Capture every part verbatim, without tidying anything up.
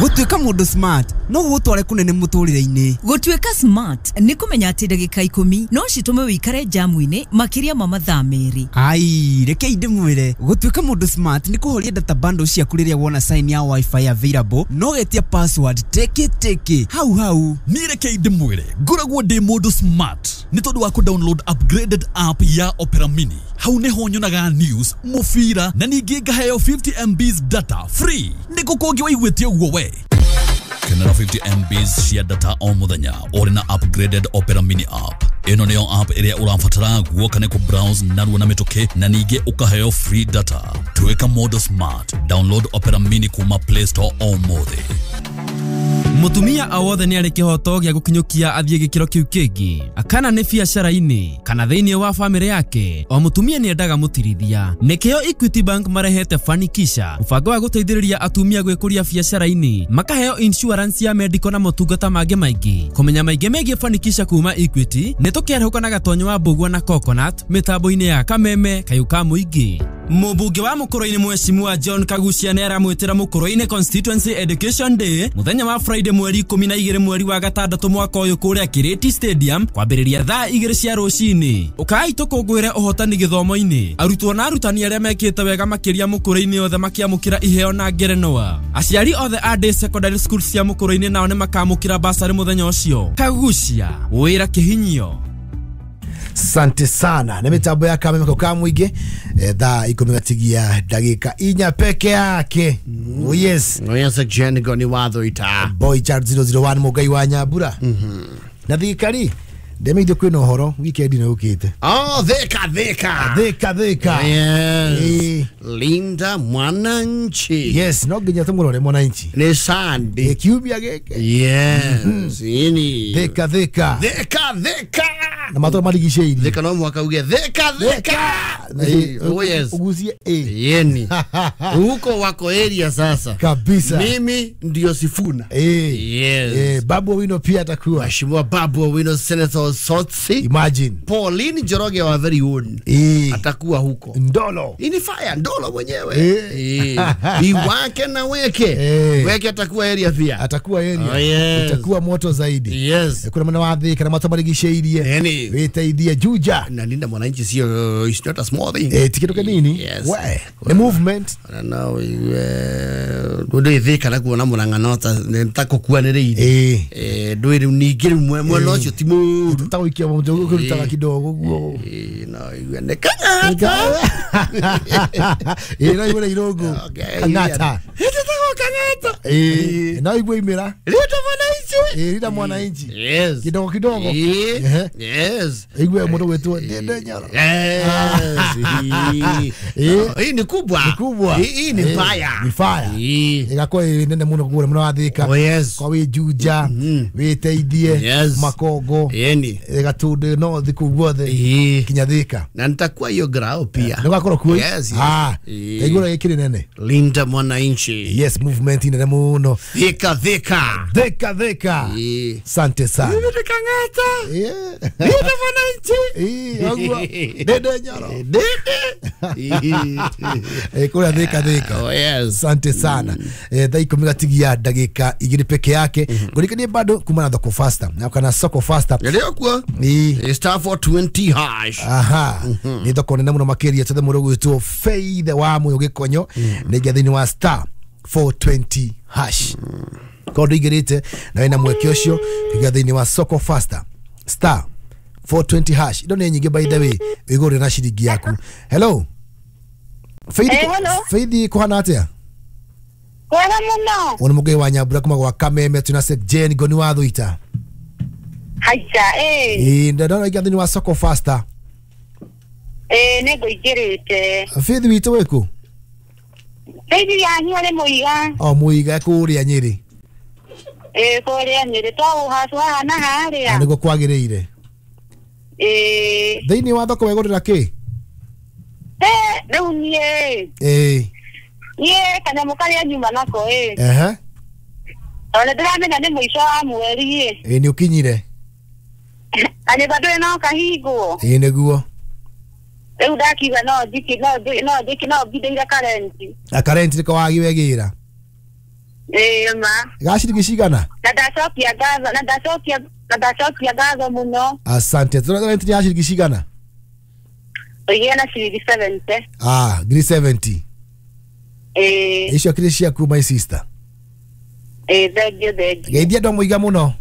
Gũtuĩka mũndũ smart no gũgũtware kũnene mũtũrĩre-inĩ. Gũtuĩka smart nĩ kũmenya atĩ ndagĩka ikũmi no citũme wĩikare jamu-inĩ makĩria ma mathaa merĩ. Ai, rekei ndĩmwĩre, gũtuĩka mũndũ smart nĩ kũhoria data bundle ciaku rĩrĩa wona sign ya wifi available no getia password teke teke hau hau. Niĩ rekei ndĩmwĩre, ngoragwo ndĩ mũndũ smart nĩ tondũ wa kũ-download upgraded app ya Opera Mini. Hau nĩho nyonaga news, mũbira na ningĩ ngaheo fifty M Bs data free. Nĩ kũ kũngĩ waiguĩte ũguo we? Kenera fifty M Bs cia data o mũthenya ũrĩ na upgraded Opera Mini app. Ĩno nĩyo app ĩrĩa ũrabatara guoka nĩ kũ-browse narua na mĩtũkĩ na ningĩ ũkaheo free data. Tuĩka mũndũ smart. Download Opera Mini kuma Play Store ũmũthĩ. Mutumia o wothe nĩ arĩ kĩhoto gĩa gũkinyũkia athiĩ gĩkĩro kĩu kĩngĩ, kana nĩ biacara-inĩ kana thĩinĩ wa bamĩrĩ yake. O mũtumia nĩ endaga mũtirithia. Nĩkĩo Equity Bank marehete Fanikisha, mũbango wa gũteithĩrĩria atumia gwĩkũria biacara-inĩ, makaheo insurance ya medical na motungata mangĩ maingĩ. Kũmenya maingĩ megiĩ Fanikisha kuma Equity nĩ tũkĩarahũka na Gatonyo wa Mbũgua na Coconut mĩtambo-inĩ ya Kameme Kayũ ka Mũingĩ. Mũmbunge wa Mũkũrũ-inĩ Mheshimiwa John Kagucia nĩ aramwĩtĩra Mũkũrũ-inĩ Constituency Education Day mũthenya wa Friday mweri ikũmi na igĩrĩ mweri wa gatandatũ mwaka ũyũ kũrĩa Kirĩti Stadium kwambĩrĩria thaa igĩrĩ cia rũcinĩ. Ũkai tũkũngũĩre ũhotani gĩthomo-inĩ. Arutwo na arutani arĩa mekĩte wega makĩria Mũkũrũ-inĩ othe makĩamũkĩra iheo na ngerenwa. Aciari othe a day secondary school cia Mũkũrũ-inĩ nao nĩ makamũkĩra basarĩ mũthenya ũcio. Kagucia, wĩra kĩhinyio. Sante sana. Na mitambo ya Kameme kwa Mwingi thaa ikumi gatigia dakika inya peke yake. Mm. Oh yes. Oh yes, Jen ni watho ita. Boy Chart zero zero one Mugai wa Nyambura. Mhm. Na thirikari ndemeithio kwina uhoro weekend ino yukite. Oh, thika thika. Thika thika. Yes. E. Linda Mwananchi. Yes, no nginya tumurore Mwananchi. Ni Sunday. Kiumia giki. Yes. Mm -hmm. Ini. Thika thika. Thika thika. Na matora marigiceirie. Thika no mwaka uge thika thika. Oh yes. Ugusie eh. Yeni. Huko wako area sasa. Kabisa. Mimi ndio Sifuna. Eh. Yes. Eh, Babu Owino pia atakuwa. Mheshimiwa Babu Owino, Senator Sotsi. Imagine. Pauline Njoroge wa very own. Eh. Atakuwa huko. Ndolo. Ini fire Ndolo mwenyewe. Eh. Eh. Iwake na weke. Eh. Weke atakuwa area pia. Atakuwa area. Oh, yes. Itakuwa moto zaidi. Yes. Kuna mwana wa thika na matora marigiceirie. Yani. Witeithie Juja. Na Linda Mwananchi sio, it's not a small thing. Eh, tikitu kanini? Yes. We, the movement. I don't know. Ndu thika na kuona murang'ano ta nitakukuanĩrĩire. Eh. Eh, ndũ rĩu ningĩ rĩu mwena ũcio ti mũru. Tũtagũikia mũndũ ũkũrutaga kidogo guo. Eh, no igue nĩ kang'ata. Eh, no igue irũngũ. Kang'ata. Ĩtagwo kang'ata. Eh, no igue imĩra. Linda Mwananchi. Eh, Linda Mwananchi. Yes. Kidogo kidogo. Eh. Yes. Igue mũndũ gwĩtwo Ndende Nyoro. Yes. Eh, hii ni kubwa. Ni kubwa. Hii ni fire. Ni fire. Igakorwo ĩ nene mũno kũrĩa mũno wa Thika. Oh yes. Kwa wĩ Juja, wĩteithie, yes. Makongo, yeni Gatundu no thiku guothe kinya Thika. Na nitakuwa hiyo grao pia. Nĩ ũgakorwo kuo? Yes, yes. Ah, igũrũ gĩkĩrĩ nene. Linda Mwananchi. Yes, movement nene mũno. Thika Thika. Thika Thika. Sante sana. Kang'ata. Yeah. Linda Mwananchi. Eh, ogwo. Ndende Nyoro. Ndende. Eh, kũrĩa Thika Thika. Oh yes. Sante sana. Eh, thaa ikũmi gatigia ndagĩka igĩrĩ peke yake. Ngũrikanie bado kuma na Thoko Faster. Na kana Soko Faster. Ndio kuo. Ni star four twenty hash. Aha. Ni thoko nene mũno makĩria tothe mũndũ gwĩtwo Faith wa Mũyũ Gĩkonyo. Nĩ thĩinĩ wa star four twenty hash. Korwo ndũingĩrĩte na wĩna mweke ũcio kũingĩra thĩinĩ wa Soko Faster star four twenty hash. Indo nĩ nyingĩ by the way, wĩgũrĩre na ciringi yaku. Hello. Faith, hey, hello. Faith kuhana atia? Kwega muno. Wona Mugai wa Nyambura kuma gwa Kameme tuna Sek Jane Ngoni wa Thuita. Haija eh. Eh, ndona iga thini wa Soko Faster. Eh, nĩ ngũingĩrĩte. Faith witũ wĩkũ? Faith yanyu arĩ Mũiga. O Mũiga kũrĩa Nyĩrĩ. Eh, kũrĩa Nyĩrĩ twaũhacu haha na harĩa. Nĩguo kwagĩrĩire. Eh. Thĩinĩ wa thoko wegũrĩra kĩ? Eh, rĩu niĩ. Eh. Niĩ kanyamũ karĩa nyuma nako ĩ. Ehe. Tondũ ndĩramenya nĩ mũico wa mweri ĩ. Ĩ nĩ ũkinyire. Kanyũmba ndũrĩ no kahingwo. Ĩ nĩguo. Rĩu ndakiuga no njiki no no njiki no mbindĩire karenti. Na karenti nĩko wagi wegĩra. Ĩĩ ma. Ga ciringi cigana? Na ndacokia ngatho, na ndacokia na ndacokia ngatho mũno. Asante. Tũrarentire ya ciringi cigana? Ũigĩre na ciringi seventy. Ah, ngiri seventy. Ĩĩ. Icio kĩrĩ ciaku my sister. Ĩĩ, thengiũ thengiũ. Geithia andũ a Mũiga mũno.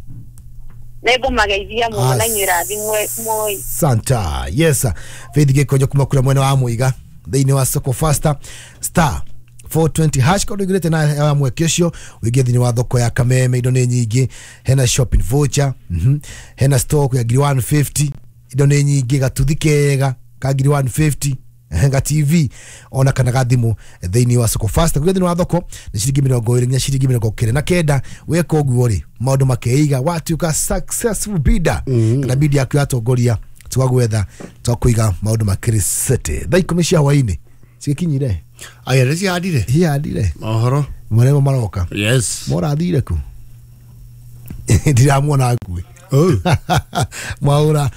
Nĩngũmageithia mũno na inyuĩ rathimwe moi. Santa. Yes. Faith Gĩkonyo kuma kũrĩa mwena wa Mũiga thĩinĩ wa Soko Faster star four twenty hash kondo igirite na ya mweke ũcio ũingĩ thĩinĩ wa thoko ya Kameme. Indo nĩ nyingĩ, hena shopping voucher, mhm hena stock ya ngiri one fifty, indo nĩ nyingĩ, gatuthi kega ka ngiri one fifty, ga T V ona kana ga thimũ thĩinĩ wa Soko Faster. Kũrĩa thĩinĩ wa thoko nĩ ciringi mĩrongo ĩrĩ nginya ciringi mĩrongo kenda na kenda. Weka ũguo rĩ, maũndũ makeiga, watuĩka successful bidder kana bid yaku yatongoria, twagwetha twakũiga maũndũ makĩrĩ sete. Thaa ikũmi cia hwaĩ-inĩ cigĩkinyire. Aya nĩ cihandire. Cihandire mohoro marĩa maroka. Yes. Morathire ku ndiramuona nguĩ mwaura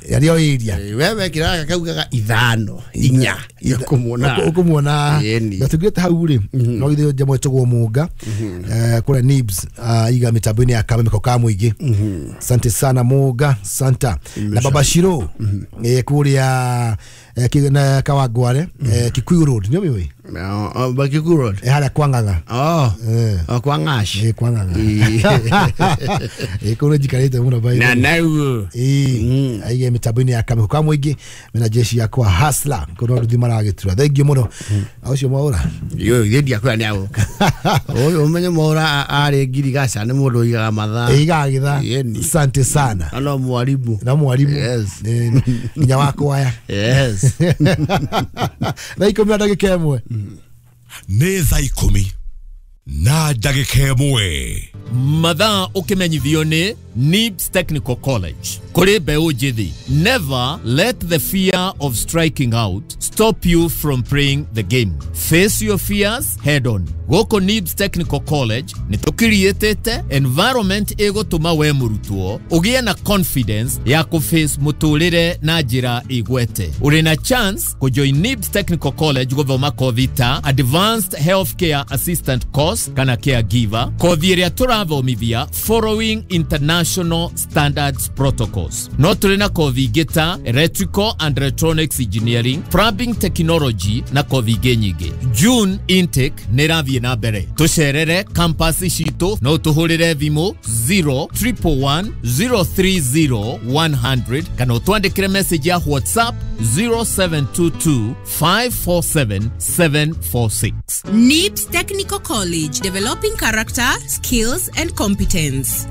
yario iria wewe kiraga kaugaga ithano inya ukumuona ukumuona gatugite hau ri no ithe njamwe tugwo munga kure nibs iga mitambo-ini ya Kameme ko ka muingi. Asante sana Munga Santa na Baba Shiro eh kuria na Kawangware Kikuyu Road nyo miwe ba Kikuyu Road eh haria kwang'ang'a. Oh kwa ng'ash eh kwang'ang'a eh kure jikarite muno bai na nau eh aige mitambo-ini ya Kameme ko ka muingi mena jeshi yakwa hasla kono nduthi maragitura. Thank you muno ucio mwaura yo ithe ndiakwira ni agoka uyu umenye mwaura ari ngirigaca ni mundu uigaga mathaa igaga githaa. Asante sana na mwarimu na mwarimu nginya wakwaya. Yes. Thaa ikumi na ndagĩka ĩmwe. Nĩ thaa ikumi na ndagĩka ĩmwe. Mathaa ũkĩmenyithio nĩ Nibs Technical College. Kũrĩ mbeũ njĩthĩ, never let the fear of striking out stop you from playing the game. Face your fears head on. Gũkũ Nibs Technical College nĩ tũkiriĩtĩte environment ĩgũtũma we mũrutwo ũgĩe na confidence ya kũface mũtũrĩre na njĩra ĩgwete. Ũrĩ na chance kũjoin Nibs Technical College gũthoma kothi ta Advanced Healthcare Assistant Course kana Caregiver, kothi ĩrĩa tũrathomithia following international standards protocols. No tũrĩ na kothi ingĩ ta Electrical and Electronics Engineering, Plumbing Technology na kothi ingĩ nyingĩ. June intake nĩ ĩrathiĩ na mbere. Tũcerere campus citũ no tũhũrĩre thimũ zero triple one zero three zero one hundred kana ũtwandĩkĩre message ya WhatsApp zero seven two two five four seven seven four six. Nibs Technical College, developing character, skills and competence.